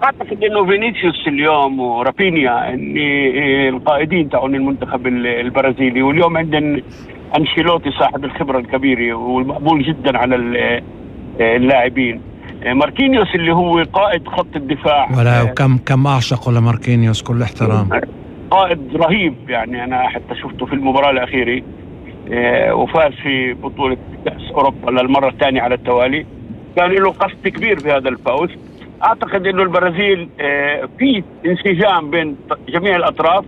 اعتقد انه فينيسيوس اليوم ورافينيا اني القائدين تاعون المنتخب البرازيلي، واليوم عندنا انشيلوتي صاحب الخبره الكبيره والمقبول جدا على اللاعبين. ماركينيوس اللي هو قائد خط الدفاع، ولا كم اعشق لماركينيوس، كل احترام، قائد رهيب. يعني انا حتى شفته في المباراه الاخيره وفاز في بطوله كاس اوروبا للمره الثانيه على التوالي، كان له قصد كبير بهذا الفوز. اعتقد انه البرازيل في انسجام بين جميع الاطراف،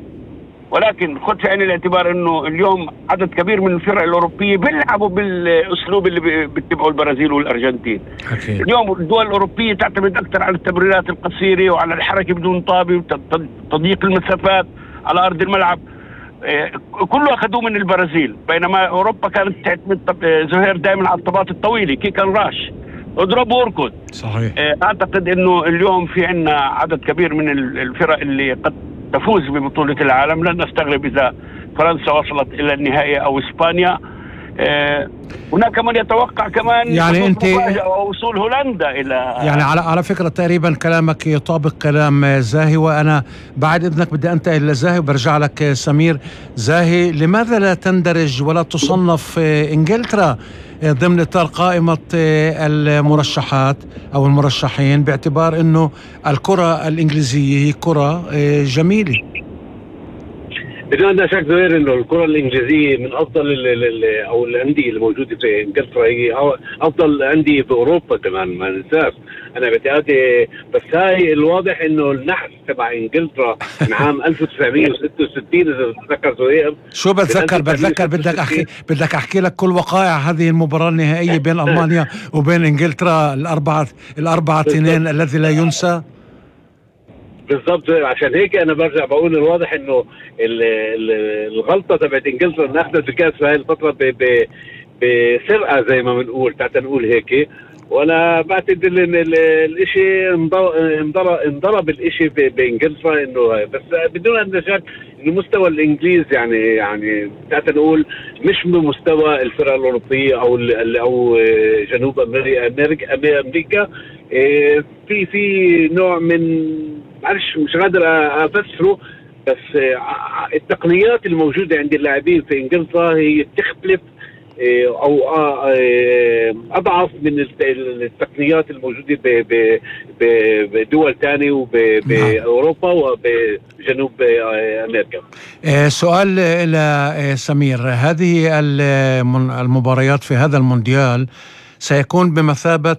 ولكن خذ في عين الاعتبار انه اليوم عدد كبير من الفرق الاوروبيه بيلعبوا بالاسلوب اللي بيتبعوا البرازيل والارجنتين. أكيد. اليوم الدول الاوروبيه تعتمد اكثر على التمريرات القصيره وعلى الحركه بدون طابه وتضييق المسافات على ارض الملعب. كله اخذوه من البرازيل، بينما اوروبا كانت تعتمد زهير دائما على الطابات الطويله، كيكن راش، اضرب واركض. صحيح. اعتقد انه اليوم في عندنا عدد كبير من الفرق اللي قد تفوز ببطولة العالم. لن نستغرب إذا فرنسا وصلت إلى النهائي أو إسبانيا. هناك من يتوقع كمان يعني أنت وصول هولندا إلى، يعني على فكرة تقريبا كلامك يطابق كلام زاهي، وأنا بعد إذنك بدي أنتقل لزاهي وبرجع لك سمير. زاهي، لماذا لا تندرج ولا تصنف إنجلترا ضمن إطار قائمة المرشحات أو المرشحين، باعتبار أنه الكرة الإنجليزية هي كرة جميلة؟ بدون شك زهير انه الكره الانجليزيه من افضل او الانديه الموجوده في انجلترا، هي افضل انديه في اوروبا كمان، ما ننساش. انا باعتقادي بس هاي الواضح انه النحس تبع انجلترا من عام 1966 اذا بتذكر زهير. شو بتذكر بدك احكي لك كل وقائع هذه المباراه النهائيه بين المانيا وبين انجلترا، الاربعه تنين الذي لا ينسى. بالضبط، عشان هيك انا برجع بقول الواضح انه الغلطه تبعت انجلترا انها اخذت الكاس في هاي الفتره بسرقه زي ما بنقول، تعال نقول هيك. وانا بعتقد ان الاشي انضرب الاشي بانجلترا، انه بس بدون ان شك انه مستوى الانجليز يعني تعال نقول مش بمستوى الفرق الاوروبيه او جنوب امريكا. في نوع من معلش مش قادر افسره، بس التقنيات الموجوده عند اللاعبين في انجلترا هي بتختلف او اضعف من التقنيات الموجوده بدول ثانيه وباوروبا وبجنوب امريكا. سؤال الى سمير، هذه المباريات في هذا المونديال سيكون بمثابه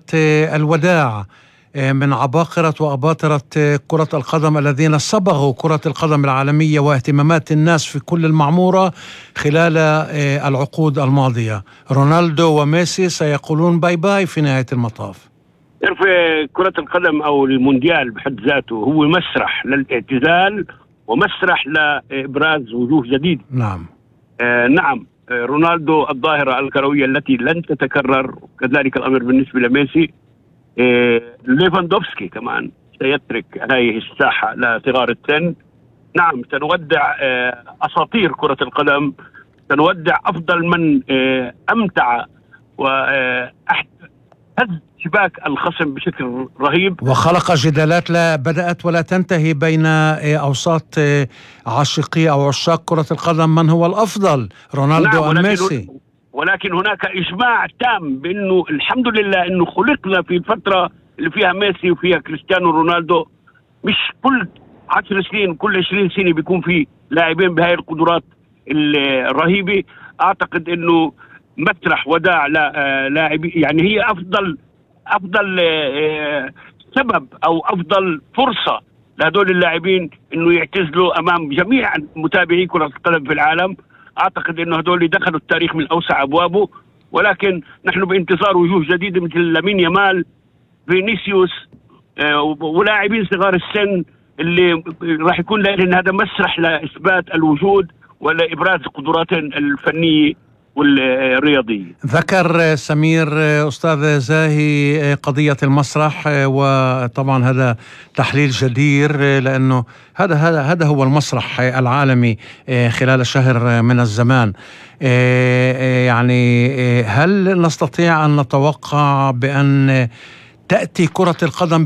الوداع من عباقرة وأباطرة كرة القدم الذين صبغوا كرة القدم العالمية واهتمامات الناس في كل المعمورة خلال العقود الماضية. رونالدو وميسي سيقولون باي باي في نهاية المطاف. كرة القدم أو المونديال بحد ذاته هو مسرح للاعتزال ومسرح لإبراز وجوه جديدة. نعم. نعم، رونالدو الظاهرة الكروية التي لن تتكرر، كذلك الأمر بالنسبة لميسي. ليفاندوفسكي كمان سيترك هذه الساحة لصغار السن. نعم، سنودع أساطير كرة القدم، سنودع أفضل من أمتع وهز شباك الخصم بشكل رهيب وخلق جدالات لا بدأت ولا تنتهي بين أوساط عاشقي أو عشاق كرة القدم من هو الأفضل، رونالدو أم ميسي. ولكن هناك إجماع تام بأنه الحمد لله أنه خلقنا في الفترة اللي فيها ميسي وفيها كريستيانو رونالدو. مش كل 10 سنين كل 20 سنة بيكون في لاعبين بهاي القدرات الرهيبة. أعتقد أنه مسرح وداع لاعبين، يعني هي أفضل سبب أو أفضل فرصة لهدول اللاعبين أنه يعتزلوا أمام جميع متابعي كرة القدم في العالم. أعتقد أنه هدول دخلوا التاريخ من أوسع أبوابه، ولكن نحن بانتظار وجوه جديدة مثل لامين يامال، فينيسيوس، ولاعبين صغار السن اللي راح يكون لهم هذا مسرح لإثبات الوجود ولإبراز قدراتهم الفنية والرياضية. ذكر سمير أستاذ زاهي قضية المسرح، وطبعا هذا تحليل جدير لأنه هذا هو المسرح العالمي خلال شهر من الزمان. يعني هل نستطيع أن نتوقع بأن تأتي كرة القدم